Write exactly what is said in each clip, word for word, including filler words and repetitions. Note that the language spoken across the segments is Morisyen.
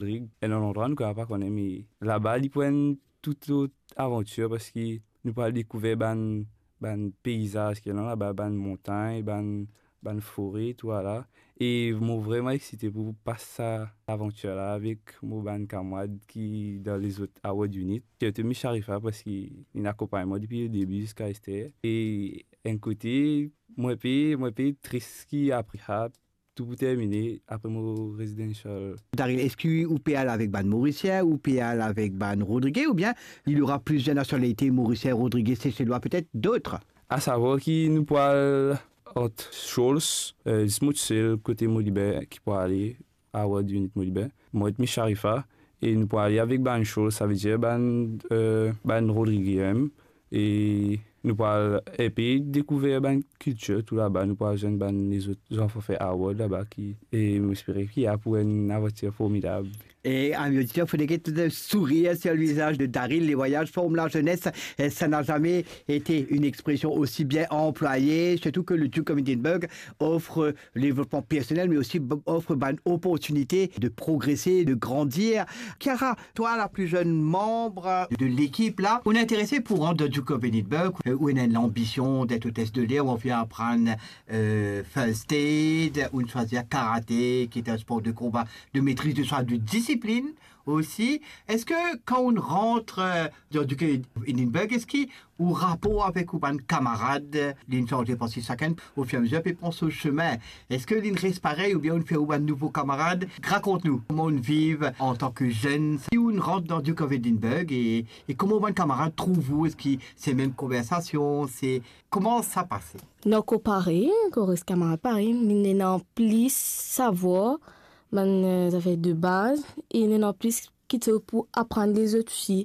Rodrig, enn landrwa nou kapav pa kone, me laba li pou enn tou lot avantir, parski nou pou al dekouver bann, bann peizaz ki ena laba, bann montagn, bann, bann fore, tou ala. E mo vreman exite pou pas sa lavantir la avek mo bann kamarad ki dan lezot award unit. Sirtou Miss Sharifa, parski li akonpagn mwa depi ledebi ziska ester. E enn kote, mo pe, mo pe tris ki apre sa, tou pou termine, apre mo residential. Daryl, eski ou pe al avek bann Morisien, ou pe al avek bann Rodrige, oubien il y aura plusieurs nationalités, Morisien, Rodrige, Seselwa, petet dot? Asavwar ki nou pou al ant Shoals, eh, zis mo tousel kote Moliben ki pou ale, award unit Moliben. Mo ek Miss Sharifa, e nou pou ale avek bann Shoals, savedir bann, eh, bann Rodrige mem. E nou pou al enpe dekouver bann kiltir tou laba, nou pou al zwenn bann lezot zanfan fer award laba ki, e mo espere ki ena pou enn avantir formidab. Et amis auditeurs, faut des sourires sur le visage de Daryl. Les voyages forment la jeunesse. Et ça n'a jamais été une expression aussi bien employée, surtout que le Duke of Edinburgh offre le développement personnel, mais aussi b-, offre une opportunité de progresser, de grandir. Chiara, toi, la plus jeune membre de l'équipe, là, on est intéressé pour rentrer dans le Duke of Edinburgh, euh, ou on a l'ambition d'être hôtesse de l'air, ou on vient apprendre, euh, first aid, ou on choisit karaté, qui est un sport de combat, de maîtrise de soi, de discipline aussi. Est-ce que quand on rentre, euh, dans le Duke of Edinburgh, est-ce que ou rapor avek ou bann kamarad, li sanze, parski sakenn, au fur et à mesure, pe pran so semin. Eski li res parey oubien ou fer ou bann nouvo kamarad? Rakont nou, kouma ou viv antan ki zenn, si ou rant dan Duke of Edinburgh e, e kouma ou bann kamarad trouv ou? Eski se mem konversasion? Se, kouma sa pase? Non, ankor parey, ankor res kamarad parey, li ena plis savwar, bann, eh, zafer de baz, e li ena plis ki ti pou aprann lezot osi.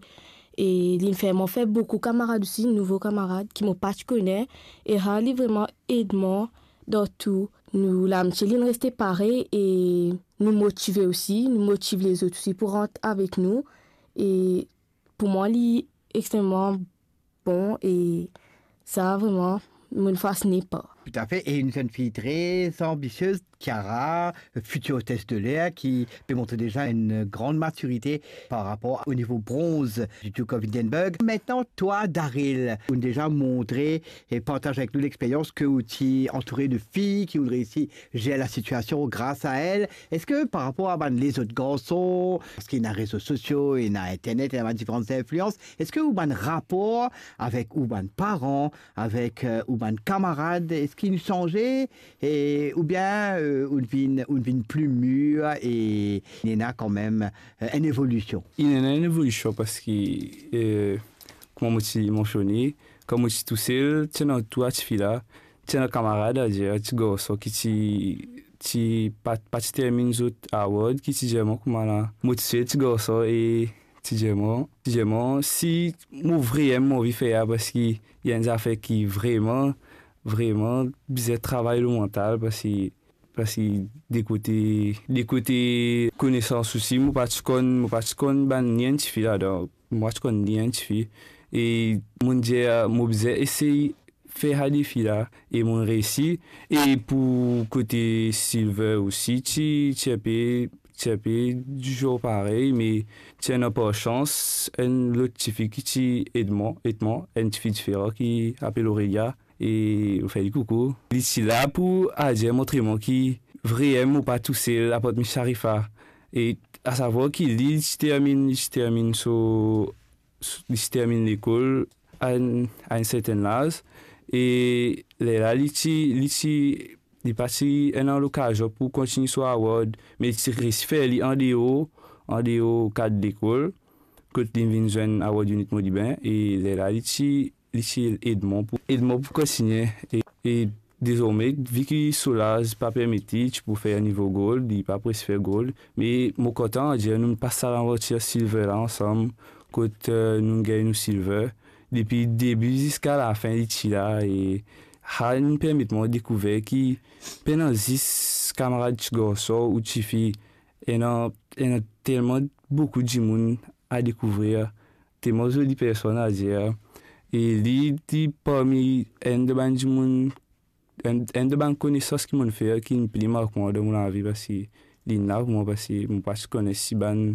E li fer mwa fer boukou kamarad osi, nouvo kamarad ki mo pa ti kone. E sa, li vreman ed mwa dan tou. Nou lamitie, li reste parey e nou motive osi, nou motiv lezot osi pou rant avek nou. E pou mwa, li extreman bon e sa, vreman, mo fasine par. Tout à fait. Et une jeune fille très ambitieuse, Chiara, future hôtesse de l'air, qui peut montrer déjà une grande maturité par rapport au niveau bronze du Duke of Edinburgh. Maintenant, toi, Daryl, ou déjà montré et partagé avec nous l'expérience que ou ti entouré de filles qui ont réussi à gérer la situation grâce à elles. Eski par rapor a bann lezot garson, parski ena rezo sosio, ena internet, ena bann diferan inflians, eski ou bann rapor avek ou bann paran, avek, eh, ou bann kamarad, eski li sanze, e, oubien, eh, ou vinn, ou vinn pli mir e ena kanmem, eh, enn evolision? Ena enn evolision parski, eh, kouma mo ti mansione, kan mo ti tousel, ti ena tou sa tifi la, ti ena kamarad, adir, ti garson ki ti, ti pa, pa ti terminn zot award, ki ti dir mwa kouma la, mo tousel ti garson e ti dir mwa, ti dir mwa, si mo vremem anvi fer sa, parski ena enn zafer ki vreman, vreman bizin travay lor mantal, parski, parski de kote, de kote konesans osi, mo pa ti konn, mo pa ti konn bann ni enn tifi ladan, mo pa ti konn ni enn tifi. E mo dir, mo bizin esey fer sa defi la, e mo reysi. E pou kote silver osi, ti, ti enpe, ti enpe dizour parey, me ti ena par sans enn lot tifi ki ti ed mwa, ed mwa, enn tifi diferan ki apel Aurelia, e mo fer li koukou. Li ti la pou adir montre mwa ki vremem mo pa tousel, apart Miss Sharifa. E asavwar ki li, li ti terminn, li ti terminn so, li ti terminn lekol a enn, a enn sertenn laz, e lerla li ti, li ti, li pa ti ena lokazion pou kontigne so award, me li ti reysi fer li andeor, andeor kad lekol, kot li vinn zwenn award unit Moliben, e lerla li ti, li ti ed mwa pou, ed mwa pou kontigne, e, e dezorme, vi ki so laz pa permet li, ti pou fer nivo gold, li pa pou reysi fer gold, me mo kontan dir nou pas sa lavantir silver la ansam, kot, eh, nou gagn nou silver. Depi debi ziska lafin, li ti la, e sa inn permet mwa dekouver ki pena zis kamarad ti garson ou tifi, ena, ena telman boukou dimoun a dekouvrir, telman zoli personn, adir. E li, li parmi enn de bann dimoun, enn, enn de bann konesans ki mo'nn fer, ki inn pli mark mwa dan mo lavi, parski linn la pou mwa, parski mo pa ti kone si bann